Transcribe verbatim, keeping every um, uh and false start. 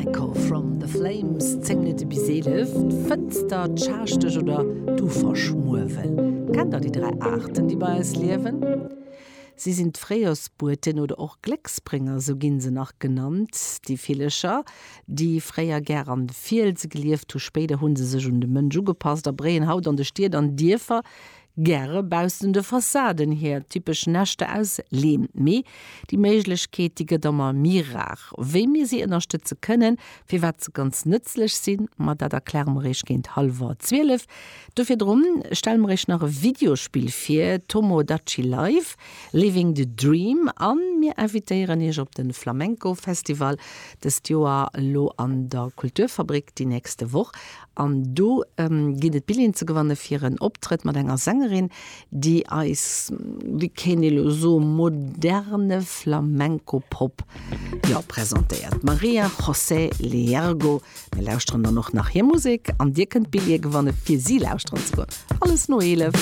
Echo from the Flames, zéng Minutte bis eelef. D'Fënster, d'Schaaschtech oder d'Uferschmuewel. Kennt der déi dräi Aarten, déi bei eis liewen? Si sinn d'Fréijorsbueten oder och Glécksbrénger, sou ginn se nach genannt, déi Villecher, déi fréier gär an de Fielse gelieft hu. Spéider hu se sech un de Mënsch ugepasst a bréien haut an de Stied an Dierfer gäre baussent de Fassaden hir typesch Näschter aus Leem. Mee déi Méiglechkeet, déi gëtt ëmmer méi rar. Wéi mir si ënnerstëtze kënnen, firwat se ganz nëtzlech sinn, ma dat erkläre mer iech géint hallwer zwielef. Do virdrun stelle mer iech nach e Videospill vir, Tomodachi Life, Living the Dream. A mir invitéieren iech op de Flamenco Festival dëst Joer elo an der Kulturfabrik déi nächste Woch. An do ginn et Billjeeën ze gewanne fir en Optrëtt mat enger Sängerin, déi eis, wéi kéint ee lo soen, moderne Flamenco-Pop, jo, presentéiert. D'Maria José Liergo. Mir lauschteren dann och nach hir Musek an dir kënnt Billjeeë gewanne fir si lauschteren ze goen. Alles no eelef.